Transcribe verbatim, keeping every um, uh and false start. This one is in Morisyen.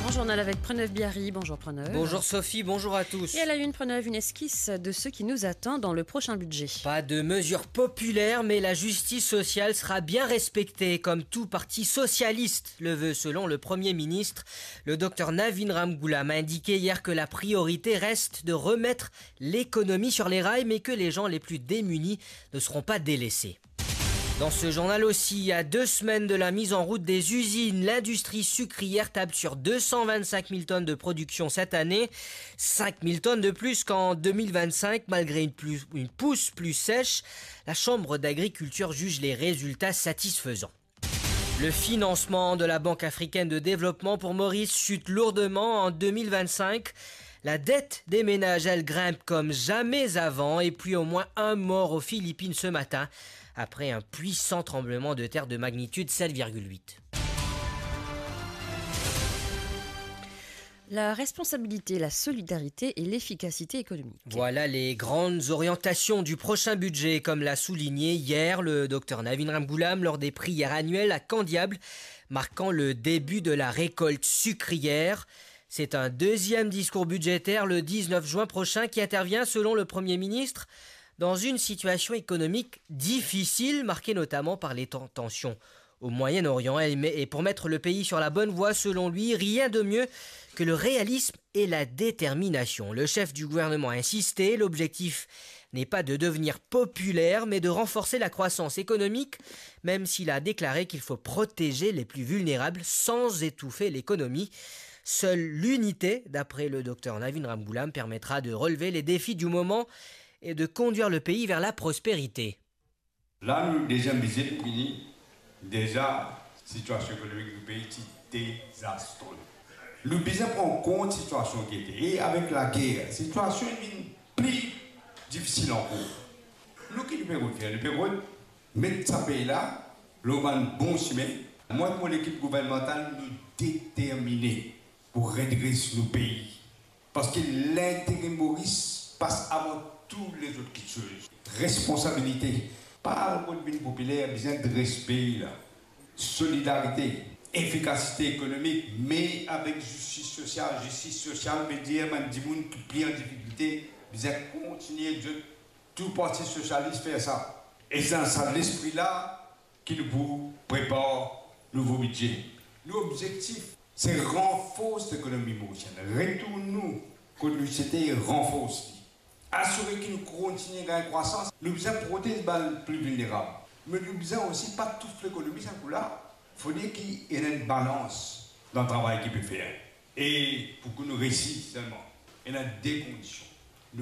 Grand journal avec Preneuve Biari. Bonjour Preneuve. Bonjour Sophie, bonjour à tous. Et à la une, Preneuve, une esquisse de ce qui nous attend dans le prochain budget. Pas de mesures populaires, mais la justice sociale sera bien respectée, comme tout parti socialiste le veut, selon le Premier ministre. Le docteur Navin Ramgoolam a indiqué hier que la priorité reste de remettre l'économie sur les rails, mais que les gens les plus démunis ne seront pas délaissés. Dans ce journal aussi, à deux semaines de la mise en route des usines, l'industrie sucrière table sur deux cent vingt-cinq mille tonnes de production cette année, cinq mille tonnes de plus qu'en deux mille vingt-cinq, malgré une, plus- une pousse plus sèche. La Chambre d'agriculture juge les résultats satisfaisants. Le financement de la Banque africaine de développement pour Maurice chute lourdement en deux mille vingt-cinq. La dette des ménages, elle, grimpe comme jamais avant, et puis au moins un mort aux Philippines ce matin, après un puissant tremblement de terre de magnitude sept virgule huit. La responsabilité, la solidarité et l'efficacité économique. Voilà les grandes orientations du prochain budget, comme l'a souligné hier le docteur Navin Ramgoolam lors des prières annuelles à Candiable, marquant le début de la récolte sucrière. C'est un deuxième discours budgétaire le dix-neuf juin prochain qui intervient, selon le Premier ministre, dans une situation économique difficile, marquée notamment par les ten- tensions au Moyen-Orient. Et, et pour mettre le pays sur la bonne voie, selon lui, rien de mieux que le réalisme et la détermination. Le chef du gouvernement a insisté, l'objectif n'est pas de devenir populaire, mais de renforcer la croissance économique, même s'il a déclaré qu'il faut protéger les plus vulnérables sans étouffer l'économie. Seule l'unité, d'après le docteur Navin Ramgoolam, permettra de relever les défis du moment et de conduire le pays vers la prospérité. La, nou deziem vize nou vini, deza, sitiasion ekonomik nou pei ti dezastre. Nou bizin pran kont sitiasion ki ete, e avek lager, sitiasion vinn pli difisil ankor. Nou ki nou pe rod fer? Nou pe rod met sa pei la lor bann bon sime. Mwa ek mo lekip gouvernmantal, nou determine pou redres nou pei. Parski lintere Moris pas avan tou lezot kiksoz. Responsabilite, pa al kot vinn popiler, bizin dres pei la. Solidarite, efikasite ekonomik, me avek zistis sosial. Zistis sosial ve dir bann dimoun ki pli an difikilte, bizin kontigne dir tou parti sosialis fer sa. E se dan sa lespri la ki nou pou prepar nouvo bidze. Nou obzektif, se ranfors lekonomi morisienn, retourn nou kot nou ti ete e ranfors li. Asire ki nou kontigne gagn krwasans. Nou bizin protez bann pli vilnerab, me nou bizin osi pa touf lekonomi sa kou la. Fode ki ena enn balans dan travay ki pe fer. E pou ki nou resi selman, ena de kondision.